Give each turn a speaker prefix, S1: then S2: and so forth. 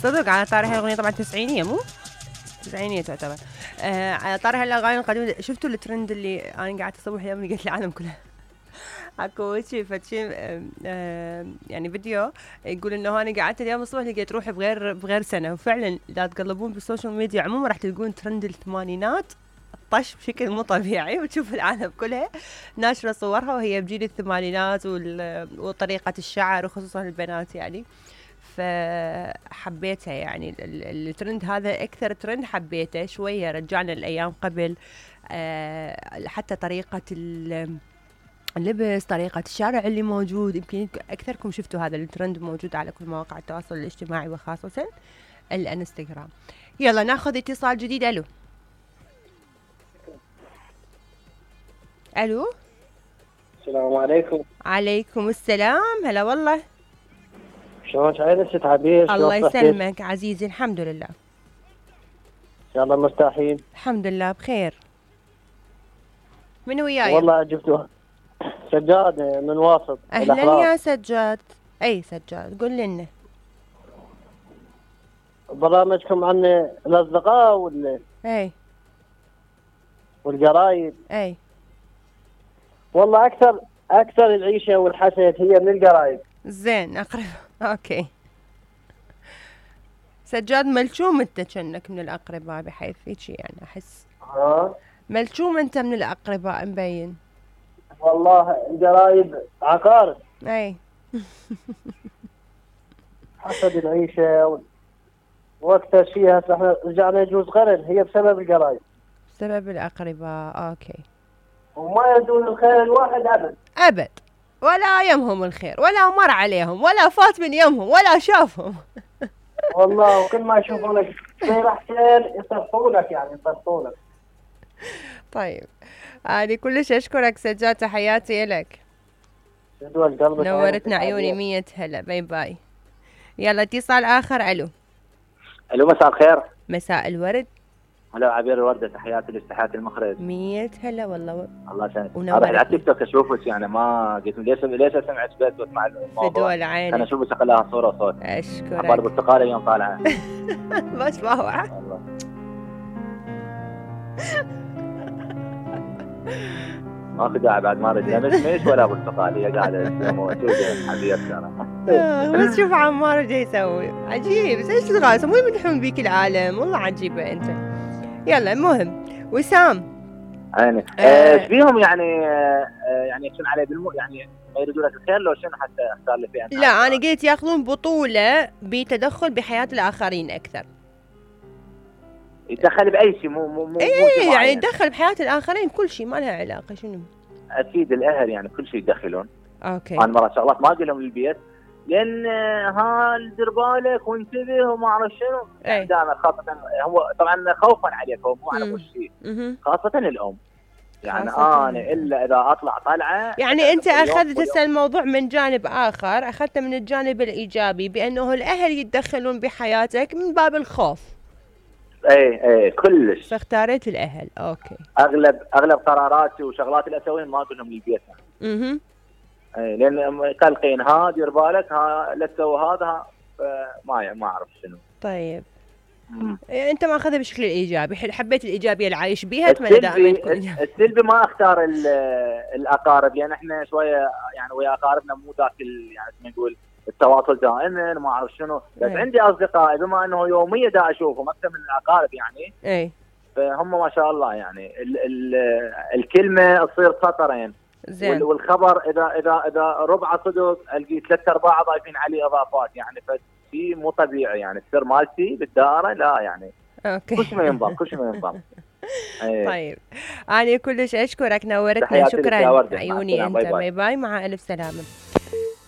S1: صدق على طاري هالاغنيه طبعا تسعينيه مو تسعينيه تعتبر. على طاري هالاغاني القديمه، شفتوا الترند اللي انا قاعده اصور اليوم لقيت العالم كلها اكو شيء فتشي يعني فيديو يقول انه انا قعدت اليوم الصبح لقيت روحي بغير سنه. وفعلا اذا تقلبون بالسوشيال ميديا عموما راح تلقون ترند الثمانينات طش بشكل مو طبيعي، وتشوف العالم كلها ناشره صورها وهي بجيل الثمانينات وطريقه الشعر وخصوصا البنات يعني. فحبيتها يعني الترند هذا اكثر ترند حبيته شويه، رجعنا الايام قبل. حتى طريقه اللبس، طريقة الشارع اللي موجود، يمكن أكثركم شفتوا هذا الترند موجود على كل مواقع التواصل الاجتماعي وخاصة الانستغرام. يلا ناخذ اتصال جديد. ألو ألو.
S2: السلام عليكم.
S1: عليكم السلام. هلا والله.
S2: شلونك عايلة ست عبير؟
S1: الله يسلمك عزيزي، الحمد لله.
S2: إن شاء الله مرتاحين؟
S1: الحمد لله بخير. من وياي؟
S2: والله جبتوها سجاد من واسط.
S1: أهلا يا سجاد. أي سجاد قول لنا.
S2: برامجكم عن الأصدقاء
S1: أي
S2: والقرايب.
S1: أي
S2: والله أكثر العيشة والحسد هي من القرايب.
S1: زين أقرب. أوكي سجاد ملشوم أنت كأنك من الأقرباء بحيث هيك يعني أحس. ملشوم أنت من الأقرباء مبين.
S2: والله القرايب عقارب.
S1: أي
S2: حسد العيشة وأكثر شيء هسه احنا رجعنا يجوز قرن هي بسبب القرايب.
S1: بسبب الأقرباء. أوكي.
S2: وما يدون الخير الواحد
S1: أبد ولا يمهم الخير ولا مر عليهم ولا فات من يمهم ولا شافهم.
S2: والله وكل ما يشوفونك خير أحسن يصرفونك يعني يصرفونك.
S1: طيب أنا كلش أشكرك سجاد، تحياتي لك. نورتنا عيوني. 100 هلا. باي باي. يلا اتصال آخر. ألو.
S3: ألو مساء الخير.
S1: مساء الورد.
S3: هلا عبير الوردة، تحياتي لاستحيات المخرج.
S1: 100 هلا والله.
S3: الله يسلمك. انا على التيك توك اشوفك يعني ما قلت ليش سمعت بس واسمع الموضوع.
S1: فدول عينك.
S3: انا اشوفك شغلها صوره وصوت.
S1: اشكرك.
S3: اخبار البرتقاله اليوم طالعه.
S1: بس باوعة.
S3: ماكو داعي بعد ما اريد لا مش ولا برتقال، هي قاعده موجوده حبيبتنا.
S1: بس شوف عمار ايش يسوي عجيب. ايش تغاص مو يمدحون بيك العالم، والله عجيبه انت. يلا المهم وسام
S3: عيني ايش بيهم يعني يعني يكون عليه يعني ما يريدوا لك الخير لو شنو حتى اختار لي فيها.
S1: لا انا قلت ياخذون بطوله بتدخل بحياه الاخرين اكثر.
S3: يتدخل باي شيء مو
S1: ايه يعني يتدخل بحياه الاخرين كل شيء ما لها علاقه. شنو
S3: اكيد الاهل يعني كل شيء يدخلون.
S1: اوكي.
S3: انا مرات شغلات ما اقول لهم للبيت لان دير بالك وانتبه وما اعرف شنو.
S1: يعني
S3: دائما خاصه هو طبعا خوفا عليك هو مو على كل شيء. خاصه الام يعني انا الا اذا اطلع طلعه.
S1: يعني انت اخذت هسه الموضوع من جانب اخر، اخذته من الجانب الايجابي بانه الاهل يتدخلون بحياتك من باب الخوف.
S3: اي كلش.
S1: فاختاريت الاهل. اوكي.
S3: اغلب قراراتي وشغلاتي اللي اسويها ما اقول لهم للبيت. اي لان قلقين دير بالك لا تسوي هذا ما اعرف شنو.
S1: طيب انت ما اخذها بشكل ايجابي، حبيت الايجابيه اللي عايش بيها. اتمنى دائما تكون
S3: السلبي ما اختار الاقارب لان احنا شويه يعني ويا اقاربنا مو ذاك يعني نقول التواصل دائما ما اعرف شنو. بس عندي اصدقاء بما انه يوميا دا اشوفهم اكثر من الاقارب يعني.
S1: اي
S3: فهم ما شاء الله يعني الكلمه تصير سطرين.
S1: زين.
S3: والخبر اذا ربع صدق القي 3/4 ضايفين عليه اضافات يعني فشيء مو طبيعي يعني السر مالتي بالدائره لا يعني.
S1: اوكي.
S3: كل شيء ما ينضم.
S1: طيب انا كلش اشكرك نورتنا. شكرا عيوني انت. باي باي. مع الف سلامه.